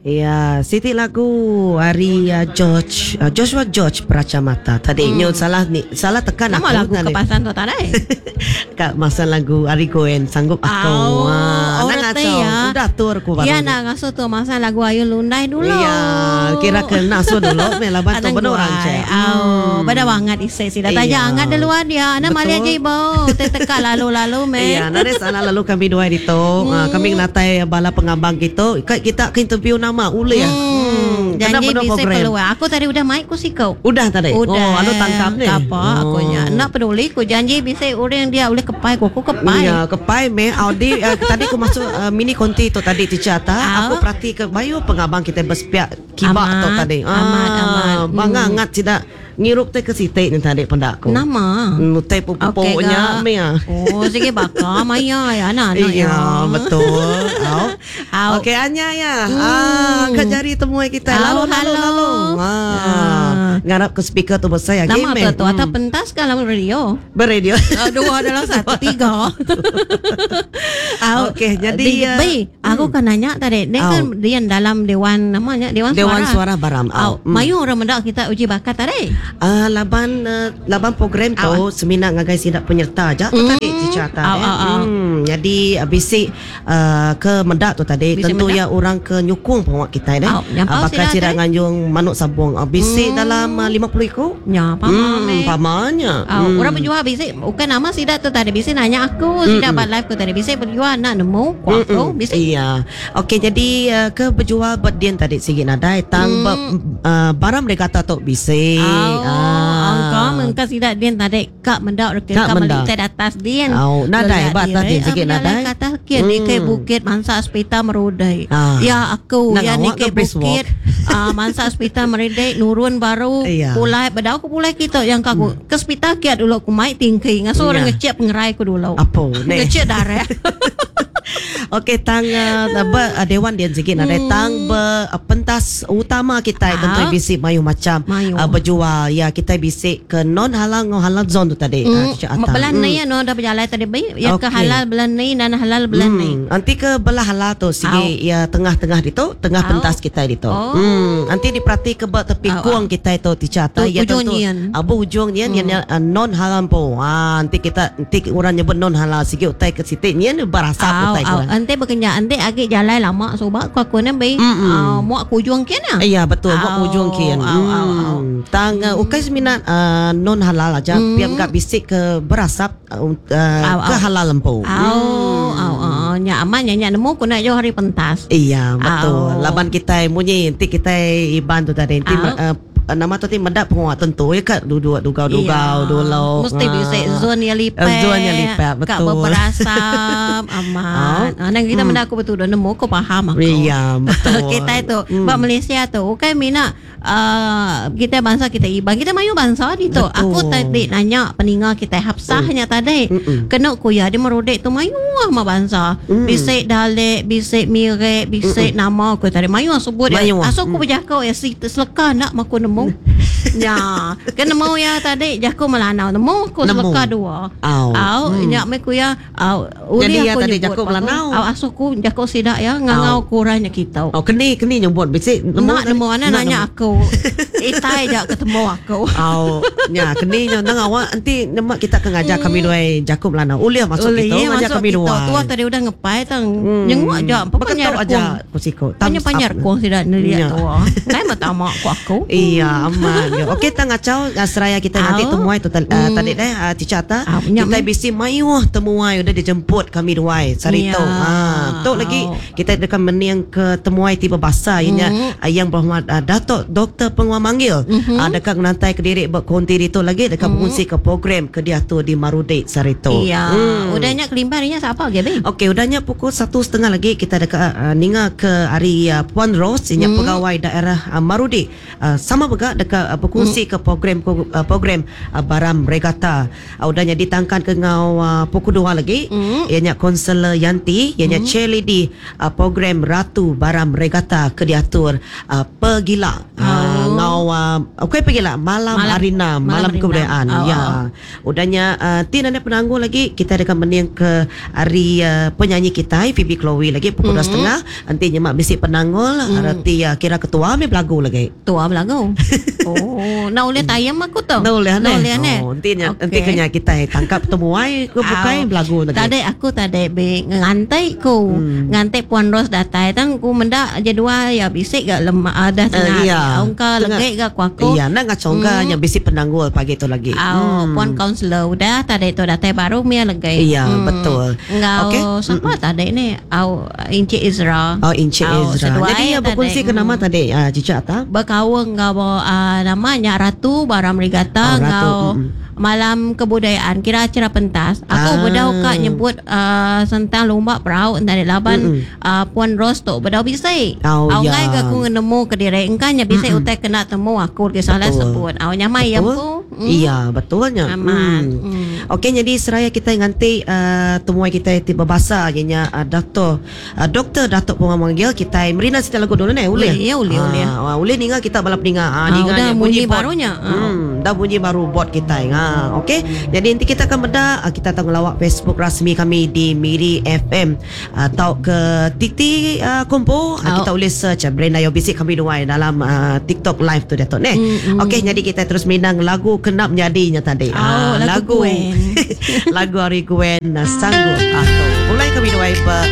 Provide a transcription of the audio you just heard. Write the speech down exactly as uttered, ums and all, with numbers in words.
Ya, siti lagu hari uh, George uh, Joshua George Pracamata tadi. Hmm. Nyo salah ni, salah tekan Nama aku lagu tadi. kepasan tu tadi. Kak masa lagu Ari Goen sanggup aku. Oh, Ah, oh, nak reti ngacau. ya. Udah tur aku baru. Ya nak ngasuh tu masa lagu Ayu Lundai dulu. Iya, kira kena so dulu me laban tu Anang benar orang guai. cek. Au, pada banget isi sida Iya. tanya angat di luar dia. Ana mali Betul. aja ibu. Teka lalu-lalu me. Iya, nare salah lalu kami dua itu. Hmm. Kami natai bala pengabang gitu. Kita ke interview nama ule ya. Hmm. Kena Janji penuh bisa program. keluar. Aku tadi udah main ku sikau. Udah tadi. Udah. Oh, anu tangkap ni. Apa aku nya. Oh. Nak peduli ku janji bisa orang dia boleh kepai ku aku kepai. Ya, kepai me Audi uh, tadi aku masuk uh, mini konti tu tadi teacher ta. Ah. Aku perhati ke bayu pengabang kita bersepiak kibak Amat, tu tadi. amat, amat. Bangga Hmm. ngat tidak ngirup teh ke sitik ni tadi pendak aku. Nama. Hmm, teh pupuknya Kak. me ya. Oh, sige baka maya ya anak anak Iya, betul. Au. Au. Okey Anya ya. Ah, ke jari temui kita. Au, Lalu lalu halo. lalu. Ah. Ah. Ngarap ke speaker tu besar ya. Nama Game, tu tu atau pentas ke dalam radio? Beradio. Ah, Dua dalam satu tiga. Au. Okey, jadi, Di, uh, Bi, aku kan nanya tadi, dia kan dia dalam dewan namanya dewan, Dewan suara. Suara Baram. Au, Au. Hmm. mayu orang mendak kita uji bakat tadi. Ah, laban uh, laban program tu semina ngagai sidak penyerta aja tu Hmm. tadi teacher ta. Au, eh. au, au. Hmm, jadi uh, bisik uh, ke mendak tu tadi Bisik tentu mendak. ya orang ke nyukung pengawak kita eh. Au, nyampau Ah, bakal sida sida tadi. nganjung manuk sabung. Ah, bisik dalam uh, lima puluh iku. Ya, pama Hmm, me. pamanya. Au, Hmm. orang berjual bisik bukan nama sidak tu tadi bisik nanya aku, sidak buat live ku tadi bisik berjual nak nemu ku aku Mm-mm. bisik. Iya. Okey jadi uh, ke berjual berdian tadi sikit nadai tang Hmm. ber, uh, barang mereka kata tok bisik. Au, Ah. angka mengka sidak din tadi kak mendak reke Kak kak mendak. melik atas din. Au, nadai Gelak ba atas diri. din sikit Ah, berjalan nadai. Ke atas kia ni ke Hmm. bukit mansa hospital merudai. Ah. Ya aku Nak ya awak ni ke ke brisk bukit ah, mansa hospital merudai nurun baru Iya. pulai bedau aku pulai kita yang aku ke hospital kia dulu aku mai tingki ngaso orang Iya. ngecek pengerai aku dulu. Apa ni? Ngecek darah. Okey tang uh, ber, uh, dewan dia sikit nadai Hmm. tang ber, uh, pentas utama kita Ah. tentu bisik mayu macam Mayu. uh, berjual ya kita bisik ke non halal ngau halal zone tu tadi Hmm, uh, Cik Atta. belan ni ya no dah berjalan tadi baik ya ke Okey. halal belan ni dan halal belan ni. Hmm, nanti ke belah halal tu sigi ya tengah-tengah itu, tengah Au. pentas kita itu. Oh. Hmm, nanti diperhati ke bak tepi Au, kuang kita itu teacher Tu ta ya ujung tentu. nyian. Abu ujung nyian hmm. yang uh, non halal po. Ah, nanti kita nanti orang nyebut non halal sigi utai ke sitik nyian berasap Au, utai au, kurang. ante berkenyak ante agak jalan lama sobak ku aku ni bei Mm-mm. uh, muak ku ujung kian ah. Ya betul buat Au, ujung kian. au, au, au. Hmm. Tang uh, ukai seminat uh, non halal aja Hmm. piam gak bisik ke berasap uh, uh, Au, ke au. halal lempu. Au, au, au, nya aman nya nya nemu ku nak jauh hari pentas. Iya betul. Au. Laban kita munyi nanti kita iban tu tadi nanti Au. uh, nama tu ti mendak penguat tentu ya kat duduk dugau-dugau Iya. dulu. Mesti bisa zon yang lipat. Zon yang lipat, Kak betul. berasap aman. Ah, nang kita mendak aku betul dah nemu aku faham aku. Iya betul. Kita itu Hmm. Bak Malaysia tu Bukan mina uh, Kita bangsa kita Iban Kita mayu bangsa di tu Betul. Aku tadi nanya Peninga kita Hafsahnya tadi Mm-mm. Kena kuya Dia merodek tu mayu lah sama bangsa Mm. Bisik dalek Bisik mirek Bisik nama aku tadi Mayu lah sebut dia Mayu lah. Asal aku berjakau ya si seleka nak maku nemu Ya Kan nemu ya tadi Jaku melanau Nemu aku Nemu. seleka dua Au. Au Hmm. Nyak me kuya Au Jadi Uli ya aku tadi nyebut jakuk aku. Melanau. Au asuh ku jakuk sidak ya Ngangau kurangnya kita Oh keni keni nyebut bisik Nak tadi? nemu ana Nak nanya nemu. aku. Itai jak ketemu aku. Au, nya keni nya nang awak nanti nemak kita ke ngajar kami dua Jakub Melanau. Uliah masuk Oleh, kita ngajar masuk kami kita. dua. Tua tadi udah ngepai tang. Hmm. Nyenguk aja. Pokoknya Beketuk aja kusiko. Tanya panjang kong tidak Ya. nelihat tua. Kai mata mak ku aku. Iya aman. Ya. Okey tang ngacau uh, seraya kita nanti Au. temuai tu uh, Hmm. tadi deh uh, Cica ta. Au, nyam, Kita eh. bisi mayuh temuai udah dijemput kami duai sari Ya. tu. Ha tu lagi Au. kita dekat meniang ke temuai tiba basah ianya Hmm. uh, yang berhormat uh, Datuk Doktor Penguat Manggil. Mhm. Uh, dekat menantai ke diri berkonti itu lagi dekat Hmm. berkongsi ke program ke dia tu di Marudek sari tu. Iya. Hmm. Udahnya kelimpahnya siapa ge be? Okey, udahnya pukul satu setengah lagi kita dekat uh, ninga ke hari uh, Puan Rose, inya Hmm. pegawai daerah uh, Marudi. Uh, sama juga dekat uh, berkongsi Hmm. ke program uh, program uh, Baram Regata. Uh, udahnya ditangkan ke ngau uh, pukul dua lagi. Hmm. Ianya konselor Yanti, ianya hmm. chairlady uh, program Ratu Baram Regata ke diatur uh, Pegila. Uh, Oh. Ngau uh, okey pergi lah malam, Malam- hari enam, malam, malam hari kebudayaan. enam. Oh, Ya. Udahnya uh, ti nanda penangguh lagi kita dekat mening ke hari uh, penyanyi kita Phoebe Chloe lagi pukul dua setengah. Nanti nyemak bisi penanggul mm. Reti uh, kira ketua mi belagu lagi. Tua belagu. Oh, nak boleh tayam aku tu. Nak boleh Nak boleh ne. Oh, nanti nya Okey. nanti kena kita tangkap temuai ke bukai Au. belagu lagi. Tadi aku tadi be ngantai ku. Hmm. Ngantai Puan Ros datai tang ku mendak jadual ya bisik gak lemak ada tengah. Eh, iya. Ongka Tengah. legek gak ku aku. Iya, nak ngacongka hmm. yang bisi penanggul pagi tu lagi. Au, hmm. Puan kaunselor udah tadi tu datai baru mia legai. Iya, betul. Ngau Okey. siapa tadi ni? Au Encik Izra. Oh, Encik Au, Ezra. seduai Jadi ya tadi. berkongsi ke nama tadi, uh, Cica Atta? Berkawang ngau uh, namanya Ratu Baram Rigata Oh, Ratu, ngau mm-mm. malam kebudayaan kira acara pentas. Aku Ah. bedau kak nyebut uh, tentang lomba perahu entah laban uh, Puan Ros tu bedau bisai. Oh, Au ya. ngai ke aku nemu ke dire engkanya bisai utai kena temu aku ke salah Betul. sebut. Au nyamai yang Betul? ku. Mm. Iya, betulnya. Aman. Hmm. Hmm. Okey, jadi seraya kita nganti uh, temuai kita ti berbahasa ianya uh, Doktor uh, Doktor Datuk Pun memanggil kita merina cerita lagu dulu ni boleh? Boleh, ya, boleh, boleh. Ah, boleh ninga kita balap ninga. Ah, Ah, ninga udah nya bunyi bot. barunya. Ah. Hmm, dah bunyi baru bot kita. Ha, okey. Jadi nanti kita akan benda ah, kita akan ngelawak Facebook rasmi kami di Miri F M atau ke Titi uh, Kompo. Ah, Oh. kita boleh search ah, Brenda Yo Bisik kami dua dalam uh, TikTok live tu Datuk ni. Mm, mm. Okey, jadi kita terus minang lagu kenap jadinya tadi. Oh, Ah, lagu Gwen. lagu hari Gwen ah, sanggup aku. Mulai kami dua ber